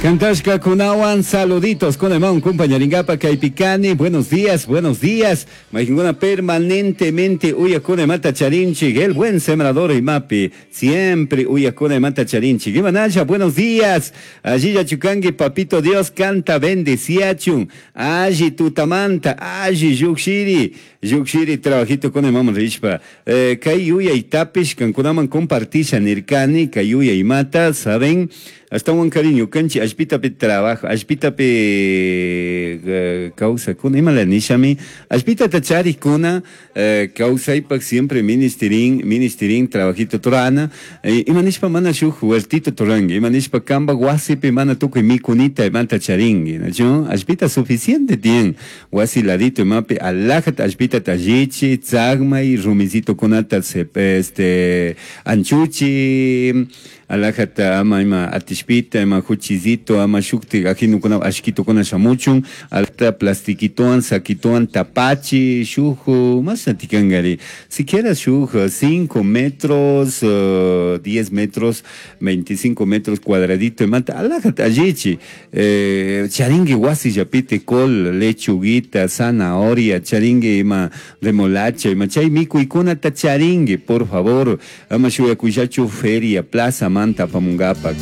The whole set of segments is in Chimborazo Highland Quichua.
Cantashkakunawan saluditos kunaman compañaringapa kaypi kani. Buenos días, buenos días. Mayqinkuna permanentemente uyakuna imata charinchik. El buen sembrador imapi siempre uyakuna imata charinchik. Imanasha, buenos días. Allilla chukanki papito Dios canta bendeciachun. Alli tutamanta, alli llukshiri. Llukshiri trabajito kunaman rishpa. Kay yuyaytapish kankunaman compartisha nirkani kay yuyaymata, saben? Ashtawan cariño kanchi allpitapi trabajo, allpitapi kawsakuna, imala nishami, allpitata charikuna kawsaypak siempre ministirin, ministirin trabajito turana, ima nishpa mana shuk huertito turanki, ima nishpa kampak wasipi mana tukuy mikunita imanta charinki, nachu? Allpita suficiente tiyan, wasi ladito imapi alajata allpitata allichi, tzagmay, rumicitokunata anchuchi, alajata ama ima atishpita, ima juchizito, ama shukti ajinukuna ashkitukuna shamuchun, alta plastiquitoan, saquitoan, tapachi, shuju, más atikangari. Siquiera shuj 5 metros, 10 metros, 25 metros cuadradito, imata, alajata allichi, charingui wasi yapite col, lechuguita, zanahoria, charingui ima remolacha, ima chay mikuikunata charingui, por favor, ama shuyakuyachu feria, plaza, manta apamungapak.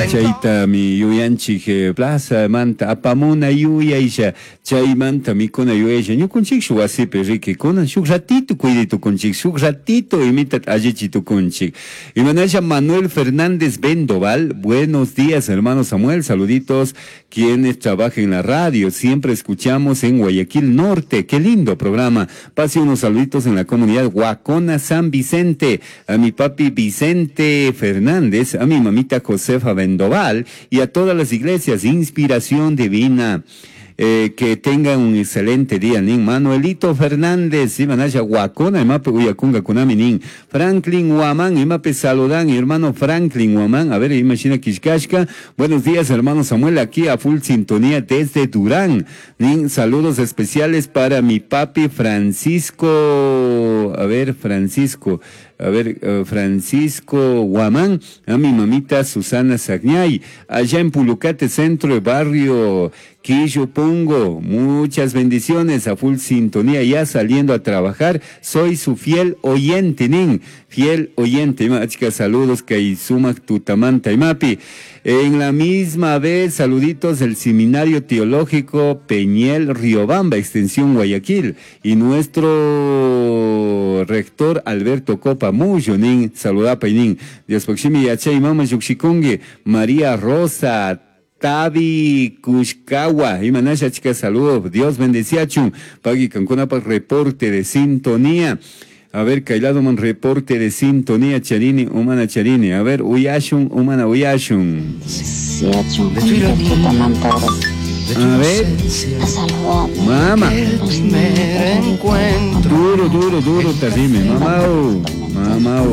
Chayta mi yuyanchik plaza manta apamuna yuyaysha chaymanta mikuna yuyasha ñukunchik shuk wasipi riki kunan shuk ratito cuiditukunchik shuk ratito imita allichitukunchik. Imanasha Manuel Fernández Bendoval, buenos días hermano Samuel, saluditos quienes trabajan en la radio, siempre escuchamos en Guayaquil Norte, qué lindo programa. Pase unos saluditos en la comunidad Huacona San Vicente, a mi papi Vicente Fernández, a mi mamita Josefa Bendoval y a todas las iglesias, Inspiración Divina. Que tengan un excelente día, nin. Manuelito Fernández, Imanasha Huacona, imape uyakunga kunami, nin. Franklin Huamán, imape saludan, hermano Franklin Huamán, a ver, imagina Quishkashka. Buenos días, hermano Samuel, aquí a full sintonía desde Durán. Nin, saludos especiales para mi papi Francisco, a ver, Francisco, a ver, Francisco Huamán, a mi mamita Susana Sagñay, allá en Pulucate, centro de barrio Quillopongo, muchas bendiciones, a full sintonía, ya saliendo a trabajar, soy su fiel oyente, nin, fiel oyente, chica, saludos, que sumak tutamanta imapi. En la misma vez, saluditos del Seminario Teológico Peñel Riobamba, Extensión Guayaquil, y nuestro rector Alberto Copa Muyo, nin, saludapa nin, Dios poximi yachay mama yukshikungi, María Rosa Tabi Kushkawa, Imanasha chica, saludos, Dios bendeciachun, Pagui Cancunapa, reporte de sintonía. A ver, Kailado man reporte de sintonía, Charini, humana Charini. A ver, Uyashun, humana Uyashun. A ver. Mama. Duro, duro, duro, terrible. Mamá, mamá.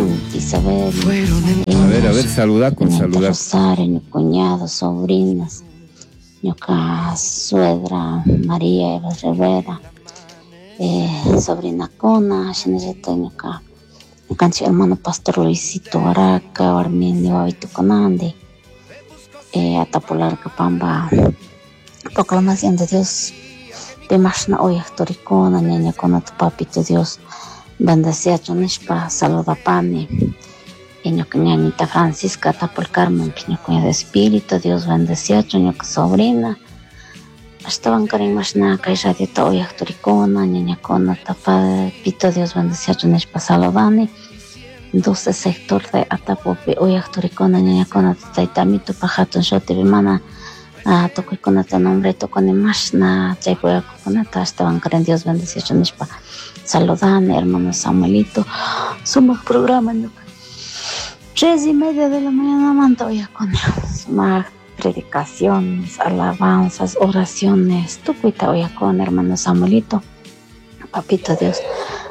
A ver, saluda con saludar. Rosario, mi cuñado, sobrinas, mi suegra, María Eva Rivera. Sobrina Cona, Shinejeta, ñuka, ñukanchik hermano Pastor Luisito Araca, Arminio Babito Conande, Atapularca Pamba, proclamación de Dios, Pimashna Oyaktoricona, Ñaña Cona, tu papito Dios, bendecía Chonishpa, saluda Pani, ñuka ñañita Francisca, Atapul Carmen, ñuka de Espíritu, Dios bendecía ñuka sobrina. Estaban karimashna kay radiota oyaktorikuna, ñañakuna, tapapito Dios bendecía chunishpa saludani. 12 sector de Atapupi oyaktorikuna, ñañakuna, taytamito pajatun shutipi mana tukuykunata nombre tukuni mashna chaypi oyakukunata estaban karin Dios bendecía chunishpa saludani, hermano Samuelito, sumaq programa ñuka. 3:30 de la mañana manta oyakuna, sumaq predicaciones, alabanzas, oraciones, tukuita oyakuna, hermano Samuelito, papito Dios,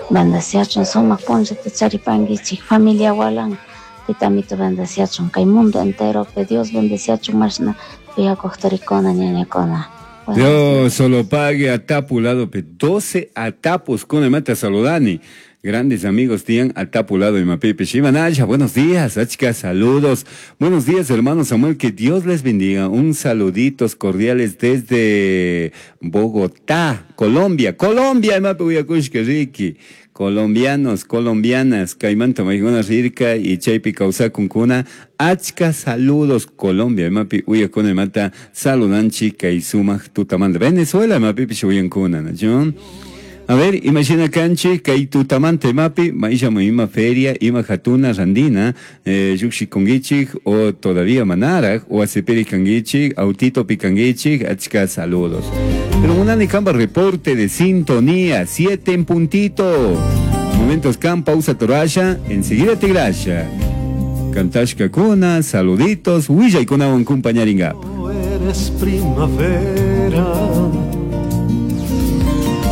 bendeciachun, sumaq punllata charipankichik, familia walan, titamito bendeciachun, kay mundo entero, pe Dios bendeciachun, mashna uyakuqtorikuna, ñañakuna. Dios solo pague a tapu lado, pe 12 atapos con el mata saludani. Grandes amigos tiyan atapulado imapipish. Imanalla, buenos días, achka saludos. Buenos días, hermano Samuel, que Dios les bendiga. Un saluditos cordiales desde Bogotá, Colombia. Colombia, imapi uyakushka riki. Colombianos, colombianas, kaymanta maykuna rirka y chaypi kawsakunkuna. Achka saludos Colombia, imapi uyakuna imata saludanchik kay sumaq tutamanta. Venezuela imapipish uyankuna, ¿no? A ver, imagina kanchik kay tutamanta imapi, maishamu ima feria, ima hatuna randina, llukshikunkichik o todavía manaraj, o asipiri kankichik, autito pikankichik, achka saludos. Pero munani kamba reporte de sintonía, 7 en puntito. Momentos kan, pausa torasha, enseguida te grasha. Cantashka kuna, saluditos, willaykunawan kumpañaringap. Eres primavera.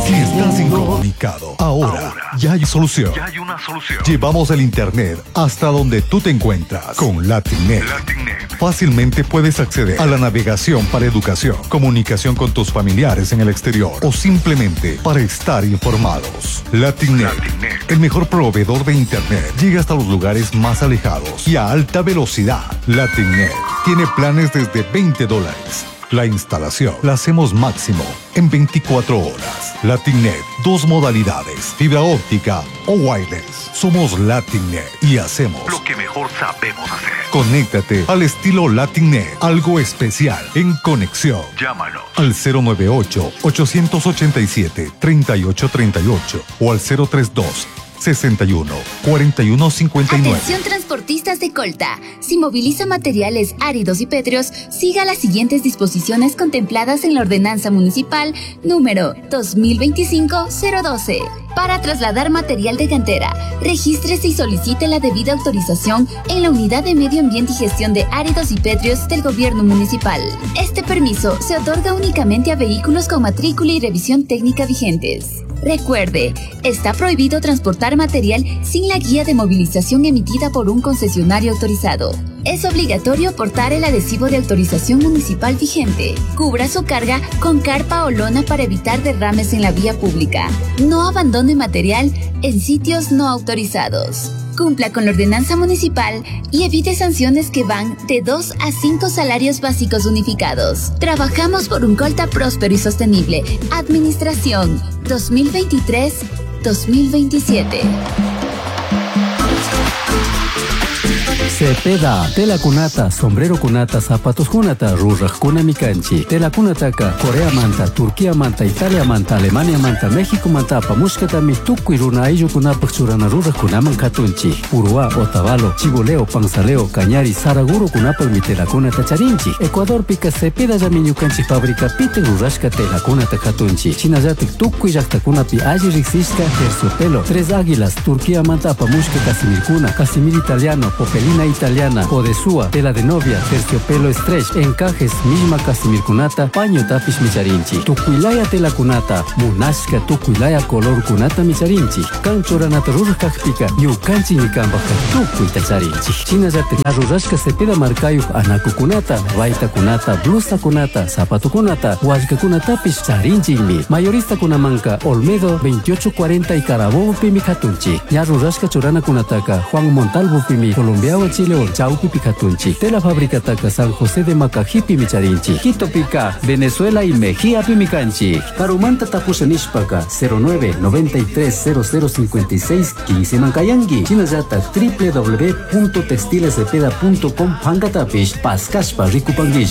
Si estás incomunicado, ahora ya hay solución. Ya hay una solución. Llevamos el internet hasta donde tú te encuentras con LatinNet. LatinNet. Fácilmente puedes acceder a la navegación para educación, comunicación con tus familiares en el exterior o simplemente para estar informados. LatinNet, LatinNet. el mejor proveedor de internet, llega hasta los lugares más alejados y a alta velocidad. LatinNet tiene planes desde veinte dólares. La instalación la hacemos máximo en 24 horas. LatinNet, dos modalidades, fibra óptica o wireless. Somos LatinNet y hacemos lo que mejor sabemos hacer. Conéctate al estilo LatinNet, algo especial en conexión. Llámanos al cero nueve ocho, ochocientos ochenta y siete, treinta y ocho treinta y ocho o al cero tres dos, 61, 41, 59. Atención transportistas de Colta. Si moviliza materiales áridos y pétreos, siga las siguientes disposiciones contempladas en la Ordenanza Municipal número 2025-012. Para trasladar material de cantera, regístrese y solicite la debida autorización en la Unidad de Medio Ambiente y Gestión de Áridos y Pétreos del Gobierno Municipal. Este permiso se otorga únicamente a vehículos con matrícula y revisión técnica vigentes. Recuerde, está prohibido transportar material sin la guía de movilización emitida por un concesionario autorizado. Es obligatorio portar el adhesivo de autorización municipal vigente. Cubra su carga con carpa o lona para evitar derrames en la vía pública. No abandone material en sitios no autorizados. Cumpla con la ordenanza municipal y evite sanciones que van de 2 a 5 salarios básicos unificados. Trabajamos por un Colta próspero y sostenible. Administración 2023-2027. Cepeda, tela cunata, sombrero cunata, zapatos cunata, ruraj cuna mikanchi, tela cunataka, Corea manta, Turquía manta, Italia manta, Alemania manta, México manta, apamushkatami, tukuy runa ayllu kunapaj churana ruraj kunaman katunchi, Uruá, Otavalo, Chigoleo, Panzaleo, Cañari, Saraguro kunapaj mi tela cunata charinchi, Ecuador pika Cepeda llami ñukanchi fábrica pite rurashka tela cunata katunchi, Chinallatik tukuy llaqtakunapi alli riqsishka terciopelo, Tres Águilas, Turquía manta apamushka Casimirkuna, Casimir italiano, Popelina italiana, Odesúa, tela de novia, terciopelo stretch, encajes, misma casimirkunata, paño tapish micharinchi, tukuilaya tela kunata, munashka tukuilaya color kunata micharinchi, kanchoranata rurajkajpika, ñukanchi ñikanpajka tukuy tacharinchi. Shinallata rurashka Cepeda markayuj anakukunata, baytakunata, blusakunata, zapatukunata, wallkakunatapish charinchikmi. Mayorista kunamanka Olmedo 2840 y Carabobo pimi katunchi. Ña rurashka churanakunataka Juan Montalvo pimi, Colombia Chile Chaupi Picatunchi, Tela Fábrica Taca San José de Macajipi Micharinchi, Quito Pica, Venezuela y Mejía Pimicanchi, Carumanta Tapusa Nishpaka, cero nueve noventa y tres cero cero cincuenta y seis quince Mancayangui, Chinayata, doble u doble u doble u punto textiles cepeda punto com, Pangatapish, Pascaspa, Ricupanguilla.